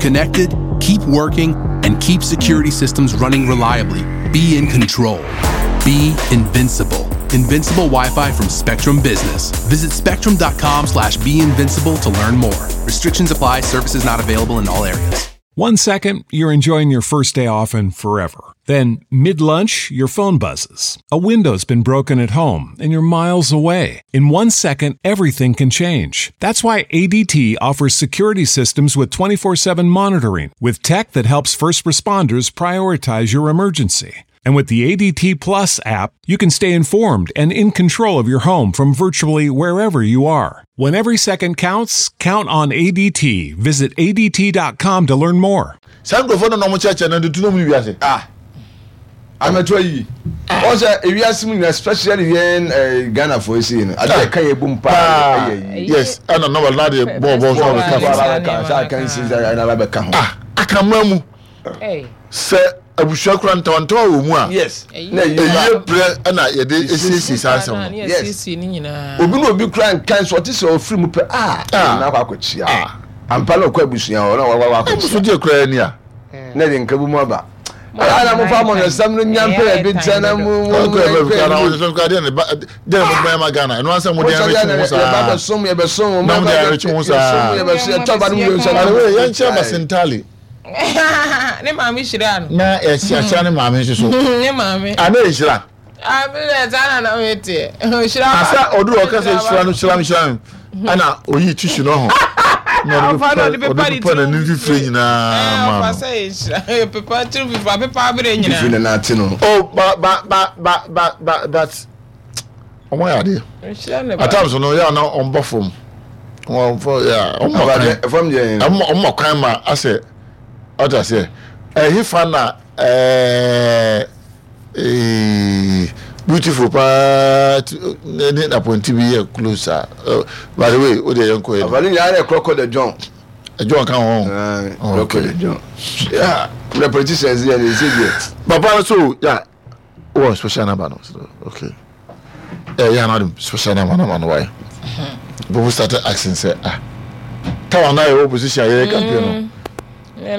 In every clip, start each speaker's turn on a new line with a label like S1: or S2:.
S1: connected, keep working, and keep security systems running reliably. Be in control. Be invincible. Invincible Wi-Fi from Spectrum Business. Visit spectrum.com slash be invincible to learn more. Restrictions apply. Services not available in all areas.
S2: One second, you're enjoying your first day off and forever. Then, mid lunch, your phone buzzes. A window's been broken at home and you're miles away. In one second, everything can change. That's why ADT offers security systems with 24 7 monitoring, with tech that helps first responders prioritize your emergency. And with the ADT Plus app, you can stay informed and in control of your home from virtually wherever you are. When every second counts, count on ADT. Visit ADT.com to learn more.
S3: Saa nkurɔfoɔ no na wɔn kyerɛkyerɛ no de tu nom ne wiase.
S4: Ah, amɛto ayi. Wɔn sɛ ewiase mu nyinaa especially yɛn eh, Ghana fo esi no ade ɛka yɛ bom paa ɛyɛ yi.
S3: Yes, ɛna na wɔn ade bɔɔ bɔɔ so abɛka
S4: so. Bɔɔ abɛka sɛ aka nsi sɛ ɛna abɛka ho.
S3: Ah, aka mmaa mu. Sɛ abusua kura ntawantawa wɔ mu a,
S4: yes, na
S3: ɛyie berɛ ɛna yɛde esiesie saa nsɛm no.
S4: Yes, obi na obi kura nka nso ɔte sɛ ɔfiri mu pɛ ah, na akɔ akɔkyia. Ampa na ɔkɔ abusua hɔ na wakɔ akɔkyia.
S3: Ɛmu so deɛ kura ni a.
S4: Na ɛde nka bi mu aba. Ɛyɛ na mo fa mo nsɛm no nya mpɛ ebi nkyɛn na mo mo
S3: mo nkɔ ebi. Deɛ na deɛ na mo bɛn ma Ghana ɛno ansa mo deɛ ɛrekye ho saa.
S4: Yɛba bɛsom yɛbɛsom mo.
S3: Na mo deɛ ɛrekye ho saa.
S4: Yɛsom yɛbɛsom yɛtɔ ba no mu yɛ nsɛm.
S3: Yɛn kyɛn basentali.
S5: ne maame hyira no.
S3: Na yɛhyira ne maame nso so.
S5: Ne maame.
S3: Ana yɛhyira.
S5: Abirɛ saa na na mi teɛ. Hyira
S3: ba. Asa ɔduru ɔka sɛ hyira no hyira no hyira no ɛna oyi tissue no ho. Na ɔde pepa ɔde pepa n'anim fifire nyinaa ma no.
S5: Ɔfa sɛ yɛhyira pepa tiri fifire apepa abirɛ nyinaa.
S4: Fifire na n'ate no.
S3: Oh ba ba ba ba ba ba but. Wɔn ayɛ adeɛ. At times no yɛ ana wɔn ba fam. Wɔn fɔ yɛ wɔn ma kwan. Wɔn ma kwan ma asɛ ɔta sɛ ɛhe fa na ɛɛ ee beautiful paa ne ne apɔnti bi yɛ close a by the way o de yɛn kɔ yɛ.
S4: Afɔli nyinaa yɛ kɔkɔ de John.
S3: John ka ho.
S4: Kɔkɔ de John. Yeah, the politicians yɛ ne nse deɛ.
S3: Papa no so yeah. wɔ special number no so okay eh yeah na special number na no why people started asking say ah tawa na yɛ opposition yɛ campaign no mm.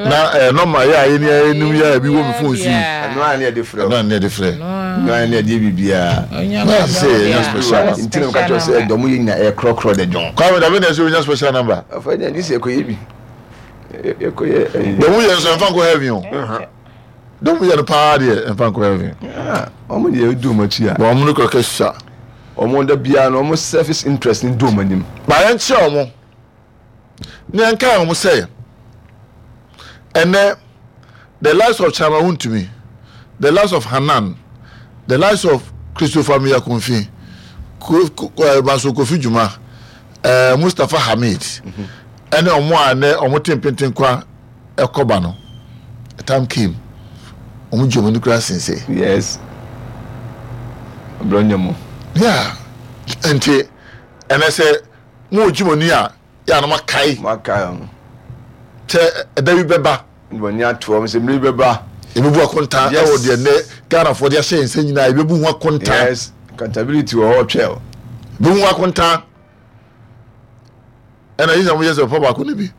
S3: na eh normal yɛ ayɛ ni ayɛ num yɛ bi wɔ mi phone so yi
S4: ɛno a ne yɛ de frɛ
S3: ɛno a ne yɛ de frɛ
S4: ɛno a ne yɛ de biribiara
S3: na sɛ yɛ special number
S4: nti na ka kyerɛ sɛ dɔm yɛ nyina ɛyɛ korɔkorɔ de dɔn
S3: kwame dabe na ɛsɛ onya special number
S4: afɔ ɛnyɛ ne sɛ ɛkɔyɛ bi ɛkɔyɛ
S3: dɔm yɛ nso ɛmfa nkɔ heaven o Dɔm yɛ no paa deɛ ɛmfa nkɔ heaven.
S4: Wɔn deɛ edu wɔn akyi a.
S3: Wɔn no kɔkɛ sua.
S4: Wɔn da biara no wɔn selfish interest ni du wɔn anim.
S3: Ba yɛn kyerɛ wɔn ne yɛn kae wɔn sɛ ɛnɛ the likes of Chairman Wontumi, the likes of Hanan, the likes of Christopher Miyakonfi, Manso Kofi Juma, eh, Mustapha Hamid, ɛne wɔn a ɛnɛ wɔn te mpentenkwa ɛkɔ ba no a time came wɔn gye wɔn ani koraa sen sɛ.
S4: Yes. Brɔnyɛ mo.
S3: Yeah. Nti ɛnɛ sɛ mo gye mo ani a yɛ anam akae.
S4: Mo akae wɔn.
S3: Sɛ ɛda bi bɛba.
S4: Wɔn ani ato wɔn sɛ mmiri bɛba.
S3: Ebebu akonta ɛwɔ deɛ nnɛ Ghanafoɔ de ahyɛ yɛn nsa nyinaa ebebu ho akonta.
S4: Yes. Accountability wɔ hɔ twɛl.
S3: Ebebu ho akonta. ɛna yi sɛ mo yɛ sɛ ɔfa baako no bi.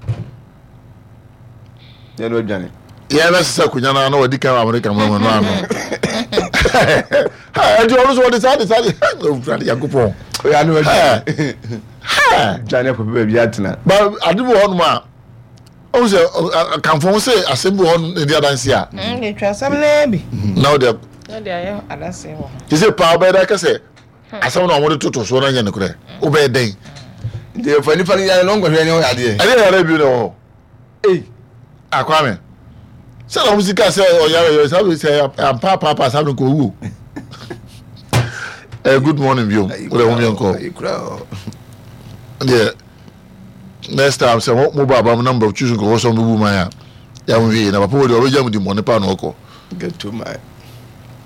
S4: yɛn no adwane.
S3: yɛn bɛ sisa akonnwa no ano wɔde kan amerika mu ɛmu ano ɛdi ɔno so wɔde saa de saa de owurade yankopɔn.
S4: oyɛ ano adwane. dwane kɔ baabi atena.
S3: ba ade bi wɔ hɔnom a ɔn sɛ akanfo ho sɛ asɛm bi wɔ hɔnom na ɛdi adanse a.
S5: ɛtwa asɛm naa bi.
S3: na ɔde.
S5: na ɔde ayɛ adanse wɔ ho.
S3: te sɛ paa ɔbɛyɛ dɛ kɛsɛ. Asɛm na wɔde toto soɔ no nyɛ nokorɛ. Wobɛyɛ dɛn?
S4: Nti yɛfa nipa no yare na ɔnkɔhwɛ ne ho yadeɛ.
S3: Ɛdeɛ yare bio na ɛwɔ hɔ.
S4: Ei.
S3: Akwame. Sɛ na wɔn sika sɛ ɔyare yɛ saa sɛ ampa paapa saa no kɔ owuo. Eh, good morning bio. Wode ho yɛn kɔ. Deɛ next time sɛ mo ba aba mo number choose nkɔfɔ sɛ mo bɛbu man a yɛ mo hwee na papa wɔ deɛ ɔbɛgya mo di mmɔne paa na ɔkɔ.
S4: Get to my.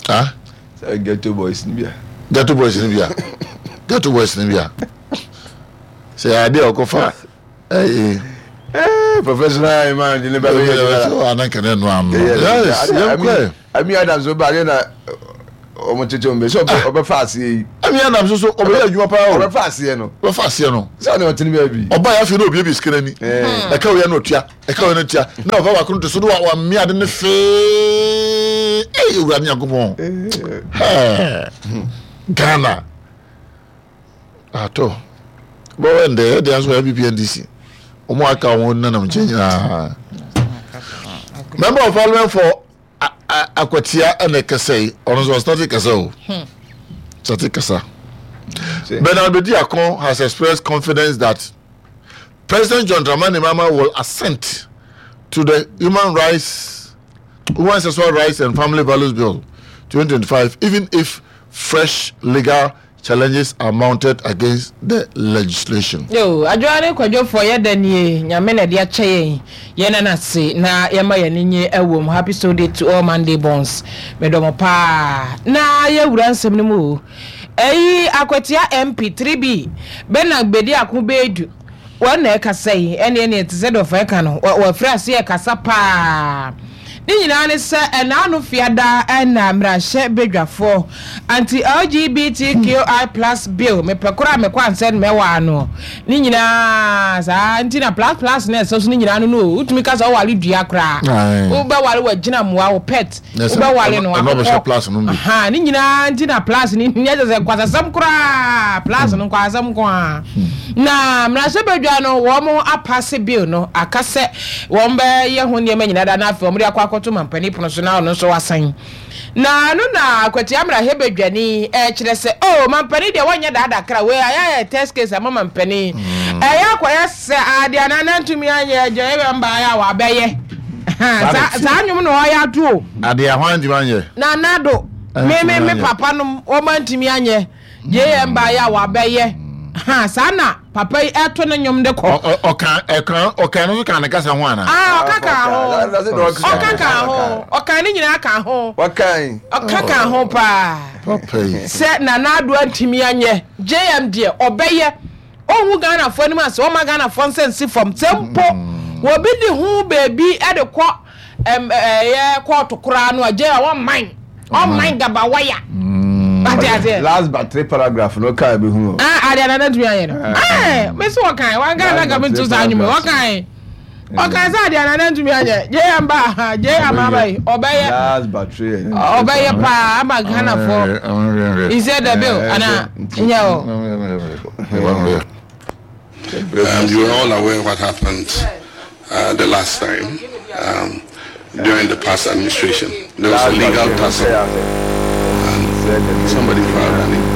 S3: Ah?
S4: Sɛ ghetto boys ni bia.
S3: Ghetto boys ni bia. Ghetto boys ni bia. Sɛ yɛ adeɛ ɔkɔfa ɛyɛ.
S4: Eh, professional man di ne ba bɛ yɛ
S3: adwuma. Ana nkɛnɛ no ano. Yes, yɛn kɔ.
S4: Ami Adams ɔba adeɛ na wɔn tete wɔn bɛ sɛ ɔbɛ fa aseɛ yi.
S3: Kwame Adams nso ɔbɛyɛ adwuma paa o.
S4: Ɔbɛfa aseɛ no.
S3: Ɔbɛfa aseɛ no.
S4: Sɛ ɔne ɔtene baabi.
S3: Ɔbaa yɛ afei na obiebie sika n'ani. Ɛka wei na ɔtua, ɛka wei na ɔtua. Na ɔfa baako no to so na wamea ade no fee. Ei Awurade Nyankopɔn. Hɛɛ. Ghana. Atɔ. Bɔwɛ ndɛ yɛ deɛ nso NPP NDC. Wɔn aka wɔn nanam nkyɛn nyinaa. Member of Parliament for Akwatia ɛna ɛkasa yi ɔno nso ɔstate kasa o state kasa. Bernard Bediako has expressed confidence that President John Dramani Mahama will assent to the Human Rights, Human Sexual Rights and Family Values Bill 2025, even if fresh legal challenges are mounted against the legislation.
S5: Yoo, Adwoa ne Kwadwofoɔ yɛda nie, Nyame na ɛde akyɛ yɛn, yɛnna no ase na yɛma yɛn ani nye ɛwom, Happy Soul Day to all Monday borns, medɔ mo paa. Na yɛwura nsɛm no mu o, ɛyi Akwatia MP 3B Bernard Bediako Beidu, Wɔn na ɛkasa yi, ɛnneɛ neɛ te sɛ deɛ ɔfa ɛka no, wɔafiri aseɛ ɛkasa paa. Ne nyinaa ne sɛ ɛnaano fiada na mmarahyɛ badwafoɔ anti-LGBTQI plus bill, mepɛ koraa mekɔ ansɛ no mɛwɔ ano. Ne nyinaa saa nti na plus plus na ɛsɛ so ne nyinaa no no o, wotumi ka sɛ woware dua koraa, wobɛware w'agyina mmoa, wo pet. Wobɛware no akokɔ. Ahaa, ne nyinaa nti na plus no nyɛ kyɛ sɛ nkwasasɛm koraa, plus no nkwasasɛm nko ara. Na mmarahyɛbadwa no wɔn apase bill no, aka sɛ wɔn bɛyɛ ho nneɛma nyinaa da na afei wɔn de akɔ akɔto mampanin pono so na ɔno nso wasan. Na ɛno na Akwatia mmarahyɛbadwani ɛkyerɛ sɛ oh mampanin deɛ wɔnyɛ daadaa kra wei ayɛ ayɛ test case ama mampanin. Ɛyɛ akɔyɛ Sɛ ade a Nana ntumi anyɛ agya yɛ mbaeɛ a wabɛyɛ. Saa nnwom na ɔyɛ ato o.
S3: Ade a hwan ntumi anyɛ?
S5: Nana do. Me me me papa nom wɔn antumi anyɛ. JM baeɛ a wabɛyɛ. Ha saa na papa yi ɛto ne nnwom de kɔ.
S3: Ɔka ɛka ɔka no nso ka ne kasa ho ana?
S5: Ah ɔka ka ho. Ɔka ka ho. Ɔka ne nyinaa ka ho. Ɔka ka ho paa.
S3: Papa yi.
S5: Sɛ Nana Addo antumi anyɛ JM deɛ ɔbɛyɛ. Ɔnhu Ghanafoɔ anim ase, ɔmma Ghanafoɔ nsa nsi fam. Sɛ mpo obi de ho baabi de kɔ ɛyɛ kɔɔto koraa no a, gye a ɔmman, ɔmman gabawaya. Wate aseɛ?
S4: Last but three paragraph no kaa bi hu.
S5: Ah, adeɛ nana ntumi ayɛ no. Ah, me so wɔkan, wɔkan na ka me nto saa nnwuma, wɔkan. Ɔkan sɛ adeɛ nana ntumi anyɛ, gye yɛ mba, gye yɛ ama aba yi, ɔbɛyɛ.
S4: Last but three.
S5: Ɔbɛyɛ paa ama Ghanafoɔ. He said the bill, ana nyɛ o.
S6: Um, you are all aware what happened uh, the last time um, during the past administration. There was a legal tussle, and somebody filed an.